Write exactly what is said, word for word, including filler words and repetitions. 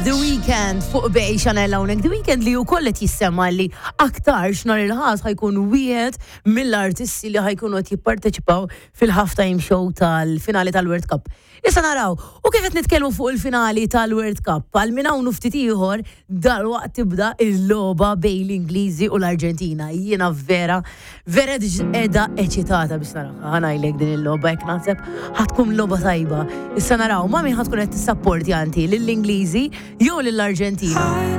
The Weeknd fuq Bay Channel hawnhekk. The Weeknd li wkoll qed jissemma li aktarx nhar il-Ħadd ħa jkun wieħed mill-artisti li ħa jkunu qed jipparteċipaw fil-halftime show tal-finali tal-World Cup. Issa naraw, u kif qed nitkellmu fuq il-finali tal-World Cup, għal minn hawn u ftit ieħor dalwaqt tibda il-logħba bejn l-Ingliżi u l-Arġentina. Jiena vera, vera qiegħda eċitata biex naraha. Ħa ngħidlek, din il-logħba hekk naħseb ħa tkun logħba tajba. Issa naraw, ma' min ħa tkun qed tissapporti inti, lill-Ingliżi jew lill-Arġentina?